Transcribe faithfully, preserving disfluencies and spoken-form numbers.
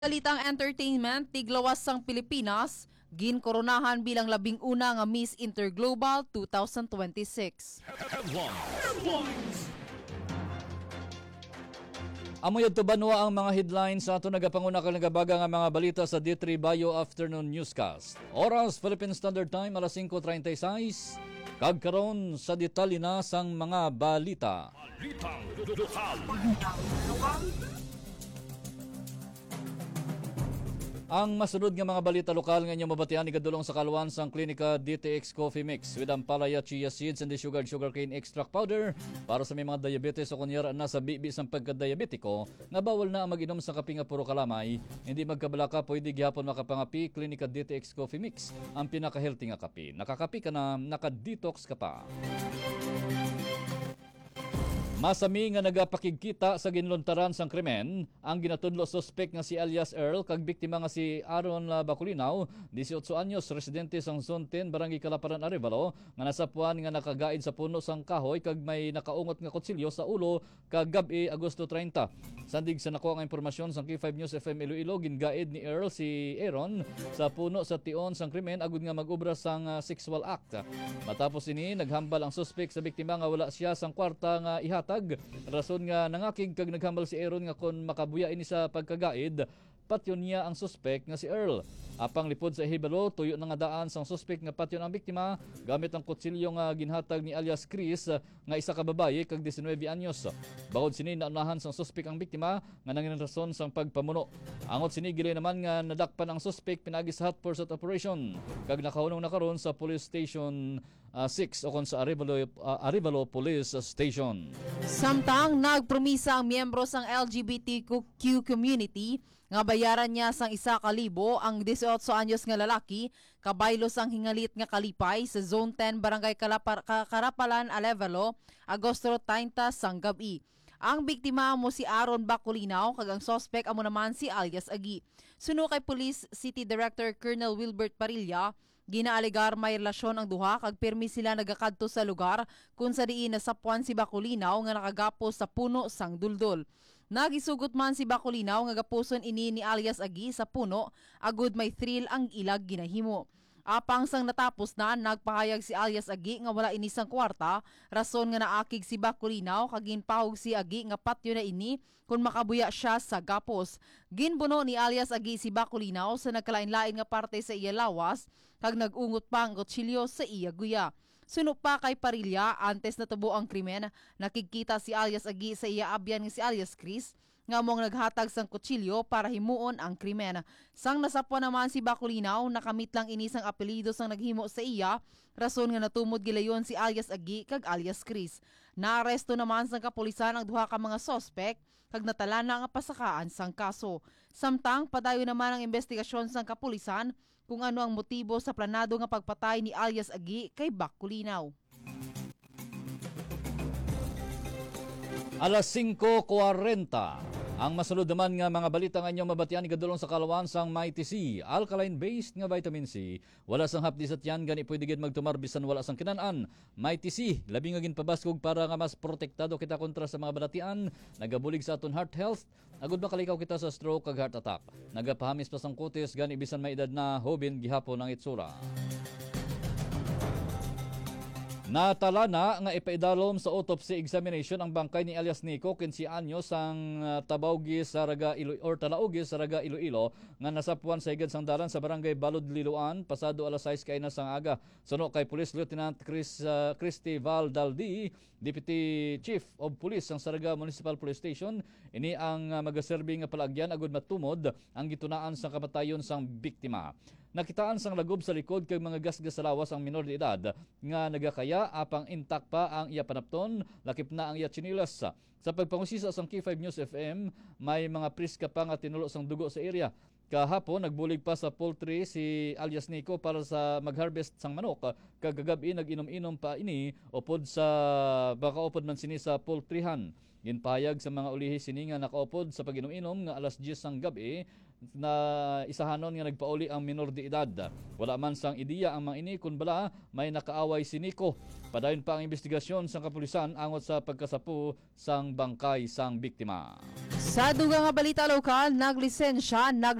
Balitang entertainment, tiglawas sang Pilipinas, ginkoronahan bilang labing una nga Miss Interglobal two thousand twenty-six. Headlines. Amo yadto banwa ang mga headlines sa ato nagapanguna kag nagabaga nga mga balita sa D three Bio Afternoon Newscast. Oras, Philippine Standard Time, alas singko treinta y seis. Kag karon sa detalye na sang mga balita. Balitang lokal. Ang masunod nga mga balita lokal nga inyo mabatian igadulong sa kaluan sang Klinika D T X Coffee Mix with Ampalaya Chia Seeds and the Sugared Sugarcane Extract Powder para sa may mga diabetes o kunyara na sa bibi sang pagkadiabetiko nga bawal na ang mag-inom sa kape nga puro kalamay. Hindi magkabalaka, pwede gihapon makapangapi Klinika D T X Coffee Mix, ang pinaka-healthy nga kape. Nakakape ka na, naka-detox ka pa. Masami nga nagapakigkita sa ginluntaran sang krimen ang ginatudlo suspek nga si alias Earl kag biktima nga si Aaron, ah, Bacolinaw, dieciocho anyos, residente sang Zone ten, Barangay Kalaparan, Arevalo, nga nasapuan nga nakagaid sa puno sang kahoy kag may nakaungot nga kutsilyo sa ulo kagab-i, Agosto treinta. Sandig sa nakuha nga impormasyon sang K five News F M Iloilo, gingaid ni Earl si Aaron sa puno sa tion sang krimen agud nga mag-obra sang, ah, sexual act. Matapos ini, naghambal ang suspek sa biktima nga wala siya sang kwarta nga ihatag, rason nga nangakig kag naghambal si Aaron nga kon makabuya ini sa pagkagaid, patyon niya ang suspek nga si Earl. Apang lipod sa hibalo, tuyo na nga daan sang suspek nga patyon ang biktima gamit ang kutsilyo nga ginhatag ni alias Chris, nga isa ka babayi kag diecinuebe anyos. Bangod sini, naunahan sang suspek ang biktima nga nangin rason sang pagpamuno. Angot sini, gilayon naman nga nadakpan ang suspek pinaagi sa hot pursuit operation kag nakahunong na karon sa Police Station, ah, six, ukon sa Arevalo, ah, Arevalo Police Station. Samtang nagpromisa ang miyembro sang L G B T Q community nga bayaran niya sang isa ka libo ang dieciocho anyos nga lalaki, kabaylo sang hingalit nga kalipay sa Zone ten, Barangay Kalapar-, Ka-, Karapalan, Arevalo, Agosto treinta sang gab-i. Ang biktima amo si Aaron Bacolinaw kag ang suspek amo naman si alias Agi. Suno kay Police City Director Colonel Wilbert Parilla, ginaalegar may relasyon ang duha kag pirmi sila nagakadto sa lugar kung sa diin nasapuan si Bacolinaw nga nakagapos sa puno sang duldol. Nagisugot man si Bacolinaw nga gapuson ini ni alias Agi sa puno agud may thrill ang ilag ginahimo. Apang sang natapos na, nagpahayag si alias Agi nga wala ini sang kwarta, rason nga naakig si Bacolinaw kag ginpahog si Agi nga patyon na ini kon makabuya sia sa gapos. Ginbuno ni alias Agi si Bacolinaw sa nagkalain-lain nga parte sa iya lawas kag nag-ungot pa ang kutsilyo sa iya guya. Suno pa kay Parilla, antes natubo ang krimen, nakigkita si alias Agi sa iya abyan nga si alias Chris, nga amo ang naghatag sang kutsilyo para himuon ang krimen. Sang nasapwan naman si Bacolinaw, nakamit lang ini sang apelyido sang naghimo sa iya, rason nga natumod gilayon si alias Agi kag alias Chris. Naaresto naman sang kapulisan ang duha ka mga suspek kag natalana nga pasakaan sang kaso. Samtang padayon naman ang imbestigasyon sang kapulisan kung ano ang motibo sa planado nga pagpatay ni alias Agi kay Bacolinaw. Alas singko kwarenta. Ang masulod naman nga mga balita nga inyo mabatian igadulong sa kalawan sang Mighty C, alkaline-based nga vitamin C. Wala sang hapdi sa tiyan, gani pwede gid magtumar bisan wala sang kinan-an. Mighty C, labi nga ginpabaskog para nga mas protektado kita kontra sa mga balatian. Nagabulig sa aton heart health, agud makalikaw kita sa stroke kag heart attack. Nagapahamis pa sang kutis, gani bisan may edad na, hoben gihapon ang itsura. Natalana nga ipaidalom sa autopsy examination ang bangkay ni alias Nico, quince anyos, sang, ah, Tabaogi, Zarraga, Ilo-, or Talaogi, Zarraga, Iloilo, nga nasapuan sa higad sang dalan sa barangay Balod, Liloan, pasado alas sais kaina sang aga. Suno kay Police Lieutenant Chris, ah, Christy Val Daldi, Deputy Chief of Police sang Zarraga Municipal Police Station, ini ang, ah, magaserbi nga palaagyan agud matumod ang gitunaan sang kamatayon sang biktima. Nakitaan sang lagob sa likod kag mga gasgas sa lawas ang minor de edad nga nagakaya, apang intact pa ang iya panapton, lakip na ang iya tsinelas. Sa pagpangusisa sang K five News F M, may mga priska pa nga tinulo sang dugo sa area. Kahapon, nagbulig pa sa poultry si alias Nico para sa mag-harvest sang manok, kag kagab-i nag-inom-inom pa ini upod sa, makaupod man sini sa poultryhan. Ginpahayag sa mga ulihi sini nga nakaupod sa pag-inom-inom nga alas diyes sang gab-i, na isahanon nga nagpauli ang minor de edad. Wala man sang ideya ang mga ini kon bala may nakaaway si Nico. Padayon pa ang imbestigasyon sang kapulisan angot sa pagkasapo sang bangkay sang biktima. Sa dugang nga balita lokal, naglisensya, nag